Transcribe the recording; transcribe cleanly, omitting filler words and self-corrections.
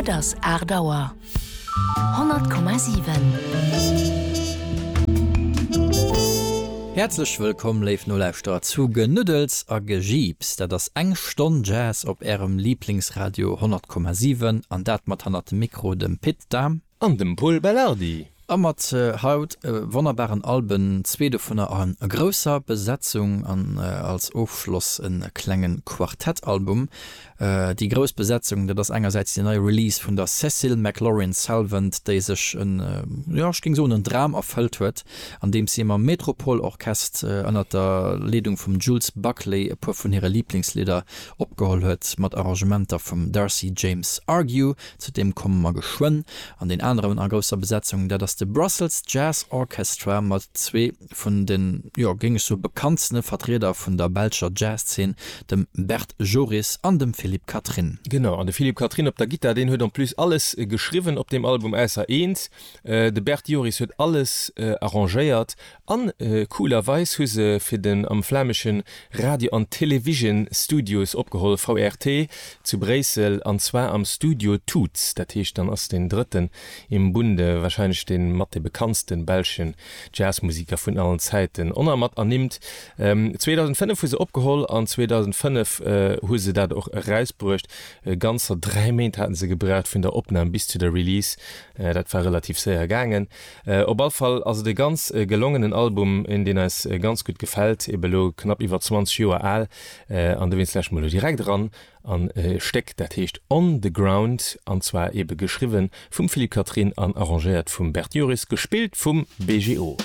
Et ass 8 Auer. 100,7. Häerzlech wëllkomm, léif Nolauschterer, zu Genuddels a Gejiips. Dat ass eng Stonn Jazz op Ärem Liiblingsradio 100,7 an dat mat hannert dem Mikro dem Pit Dahm. An dem Pol Belardi. A mat haut wonnerbaren Alben, zwee dovunner a grousser Besetzung an als Ofschloss e klenge Quartettalbum. Déi grouss Besetzung, dat ass engersäits déi nei Release vun der Cécile McLorin Salvant, déi sech en, jo ech géing soen en Dram erfëllt huet, andeems si mam Metropole Orchest ënnert der Leedung vum Jules Buckley e puer vun hire Liblingslidder opgeholl huet, mat Arrangementer vum Darcy James Argue. Zu deem komme mer geschwënn. An deen aneren a grousser Besetzung, dat ass de Brussels Jazz Orchestra mat zwee vun den, jo, géing ech soe bekanntstene Vertrieder vun der belscher Jazzszen, dem Bert Joris an dem Philippe Catherine. Genau, an de Philippe Catherine op der Gittar, deen huet en plus alles geschriwwen op deem Album, ausser eent. De Bert Joris huet alles arrangéiert An coolerweis hu se fir den am flämeschen Radio an Television Studios opgeholl, VRT, zu Bréissel, an zwar am Studio Toots. Dat heescht, dann ass deen drëtten im Bunde, wahrscheinlech dee mat dee bekanntsten belschen Jazzmusiker vun allen Zäiten, oner mat ernimmt. 2005 hu se opgeholl an 2005 hu se dat och erausbruecht. Ganzer 3 Méint haten se gebraucht vun der Opnam bis zu der Release. Dat war relativ séier gaangen. Op all Fall ass et e ganz gelongenen Album, een deen eis ganz gutt gefält, ebe lo knapp iwwer 20 Joer al, an dowéinst lauschteren mer lo direkt eran an e Stéck dat heescht On the Ground, an zwar ebe geschriwwe vum Philippe Catherine an arrangéiert vum Bert Joris, gespillt vum BGO.